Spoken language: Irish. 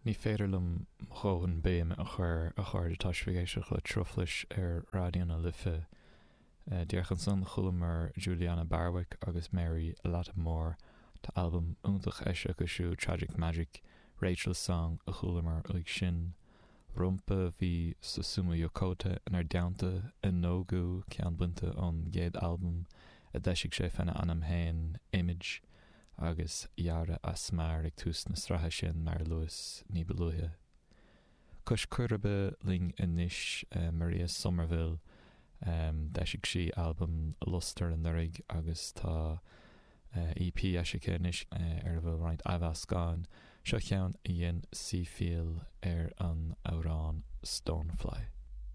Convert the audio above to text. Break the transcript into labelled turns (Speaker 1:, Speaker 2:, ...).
Speaker 1: Ní féidir liom mo dhóthain béime a chur, a chairde, tá sibh ag éisteacht le Truflais ar Raidió na Life. Díreach ansan chualamar Julianna Barwick agus Mary Lattimore. Tá albam iontach eisithe acu siúd, Tragic Magic. Rachel's Song a chualamar uaidh sin. Rompu bhí Susumu Yokota inár dteannta, Enogu, ceann bainte ón gcéad albam a d'eisigh sé féna ainm féin, Image. agus Yara Asmar ag tús na sraithe sin, mar a luas ní ba luaithe. Cois Coiribe linn anois, Maria Somerville. D'eisigh sí albam Lustre anuraidh agus tá EP eisithe anois ar a bhfuil roinnt athmheascán. Seo ceann a dhein sí fial ar an amhrán Stonefly.